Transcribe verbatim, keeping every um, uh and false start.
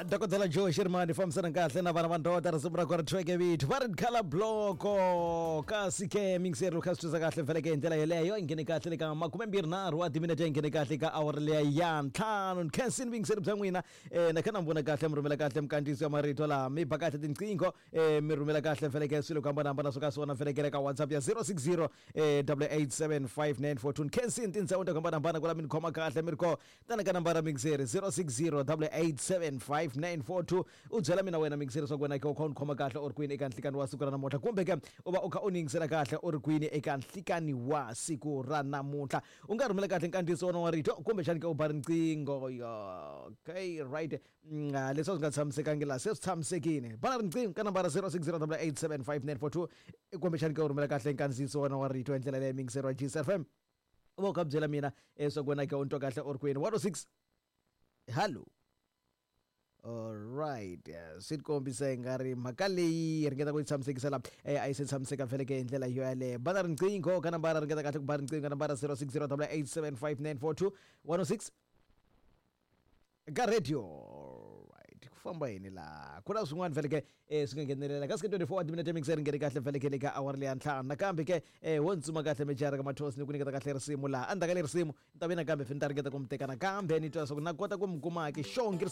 Dokodela Joe Sherman fambisana kahle na vana va ndoda risimu ra kona track vito va ri khala bloko kasi ke mixer kha swi twisa kahle vhele ke hi ndlela yeleyo yi nghene kahle le ka makumembirhi nharhu wa timinete yi nghene kahle ka awara leya ya ntlhanu khensini vuyingiseri bya n'wina um na kha na mi vona kahle mi rhumela kahle mikandziyiso ya marito laha mi ba kahle tinqingho um mi rhumela kahle vhele ke swilo ku hambanahambana swo ka swona vhele ke le ka WhatsApp ya zero six zero double eight seven five nine four two. Khensini tindhawu ta ku hambanahambana ku la mi ni khoma kahle mi ri ko tana ka nambara mixeri zero six zero double eight seven five nine four two. U byela mina wena mixeri swa ku wena ke u kha u ni khoma kahle u ri kwini eka nhlikani wa siku ra namuntlha, kumbe ke u va u kha u ni yingisela kahle u ri kwini eka nhlikani wa siku ra namuntlha. U nga rhumela kahle nkandziyiso wona wa rito kumbexani ke u ba riqingho. Okay, right. Mm, ah, leswi a swi nga tshamisekangi laha se swi tshamisekile. Bana riqingho ka nambara zero six zero double eight seven five nine four two, kumbexani ke u rhumela kahle nkandziyiso wona wa rito hi ndlela leyi mixeri wa G S F M. U va u kha byela mina leswaku wena ke u ni twa kahle u ri kwini. one oh six. Hello. All right. Swi ti kombisa hi nga ri mhaka leyi ringeta ku yi tshamisekisa la eh, a yi se tshamiseka vhele ke hi ndlela yo yaleyo. Bana riqingho ka nambara, ringeta kahle ku ba riqingho ka nambara zero six zero double eight seven five nine four two one oh six ka radio. Right, ku famba yini laha? Ku na swin'wana vhele ke eh, swi nga nghenelela kasi ke twenty-four wa timinete mixer nghene kahle vhele ke le ka awara leya ntlhanu. Nakambe ke eh, wo ntsuma kahle mejara ka mathosi ni ku nyiketa kahle risimu laha. Endzhaku ka le risimu ni ta ve nakambe ni ta ringeta ku mi teka nakambe ni twa leswaku na kota ku mi kuma ke xongi risimu.